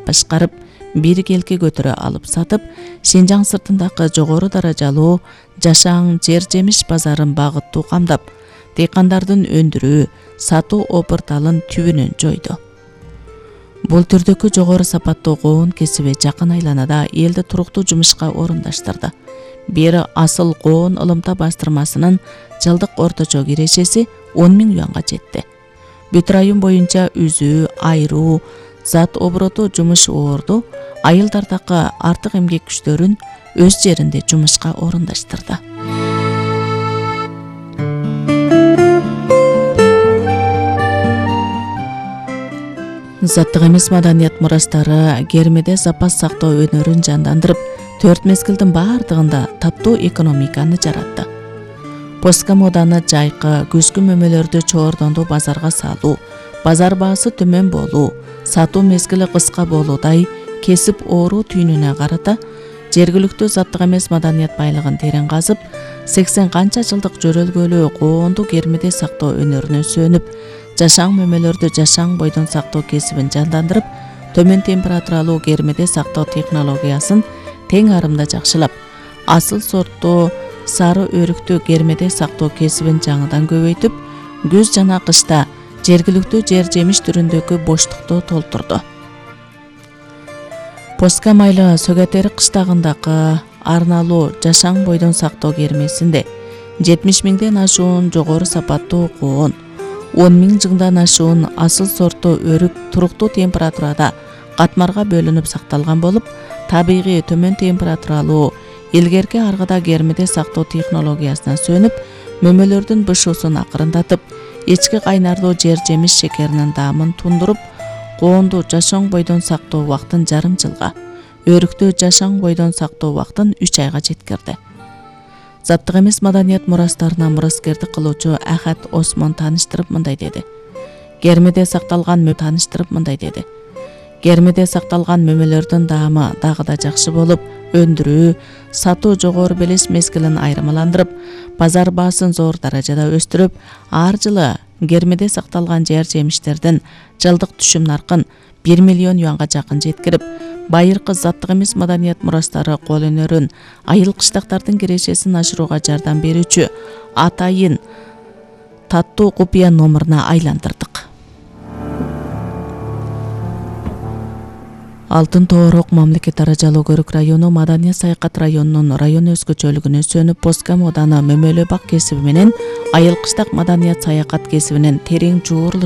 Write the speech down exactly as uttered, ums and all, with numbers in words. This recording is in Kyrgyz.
башкарып, биргелке көтөрө алып сатып, Синжаң сыртындагы жогору даражалуу жашаң жер жемиш базарын багыттуу камдап, дыйкандардын өндүрүү, сатуу опырталын түбүнөн жойду. Бул түрдөгү жогору сапаттуу коон кесиби жакын айланада элди туруктуу жумушка орундаштырды. Бери асыл коон ылымта бастырмасынын жылдык орточо кирешеси он миң юанга жетти. Бүт район боюнча үзүү, айруу, зат обороту жумуш оорду, айылдардагы артык эмгек күчтөрүн өз жеринде жумушка орундаштырды. Заттык эмес маданият мурастары Кермеде запас сактоо өнөрүн жандандырып, төрт мезгилдин баардыгында таптуу экономиканы жаратты. Поска моданы жайкы, күзгү мөмөлөрдү чоордондуу базарга салуу, базар баасы төмөн болуу, сатуу мезгили кыска болуудай кесип оору түйүнүнө карата жергиликтүү заттык эмес маданият байлыгын терең казып, сексен канча жылдык жөрөлгөлүү коонду Кермеде сактоо өнөрүнө сөнүп, жашаң мөмөлөрдү жашаң бойдон сактоо кесибин жандандырып, төмөн температуралуу Кермеде сактоо технологиясын тең арымда жакшылап, асыл сорттуу сары өрүктүү Кермеде сактоо кесибин жаңыдан көбөйтүп, күз жана кышта жергиликтүү жер жемиш түрүндөгү боштукту толтурду. Поска майлы Сөгөтери кыштагындагы арналуу жашаң бойдон сактоо кермесинде жетимиш миңден ашуун жогору сапаттуу коон, он миң жыңдан ашуун асыл сорттуу өрүк туруктуу температурада катмарга бөлүнүп сакталган болуп, табигый төмөн температуралуу илгерки аргыда Кермеде сактоо технологиясына сөнүп, мөмөлөрдүн бышуусун акырындатып, ички кайнардуу жер жемиш шекеринин даамын тундуруп, коонду жашаң бойдон сактоо убактын жарым жылга, өрүктү жашаң бойдон сактоо убактын үч айга жеткирди. Заттык эмес маданият мурастарына мураскерди кылуучу Ахат Осмон тааныштырып мындай деди. Кермеде сакталган мө тааныштырып мындай деди. Кермеде сакталган мөмөлөрдүн даамы дагы да жакшы болуп, өндүрүү, сатуу жогору белес мезгилин айырмаландырып, базар баасын зор даражада өстүрүп, ар жылы Кермеде сакталган жер жемиштердин жылдык түшүм наркын бир миллион юанга жакын жеткирип, байыркы заттык эмес маданият мурастары кол өнөрүн, айыл кыштактардын кирешесин ашырууга жардам берүүчү атайын таттуу купуя номуруна айландырдык. Алтын Тоорок мамлекет даражалуу көрүк району Маданият саякат районунун район өзгөчөлүгүнө сөнүп, поска моданы мөмөлө бак кесиби менен айыл кыштак маданият саякат кесибинин терең жуурулуш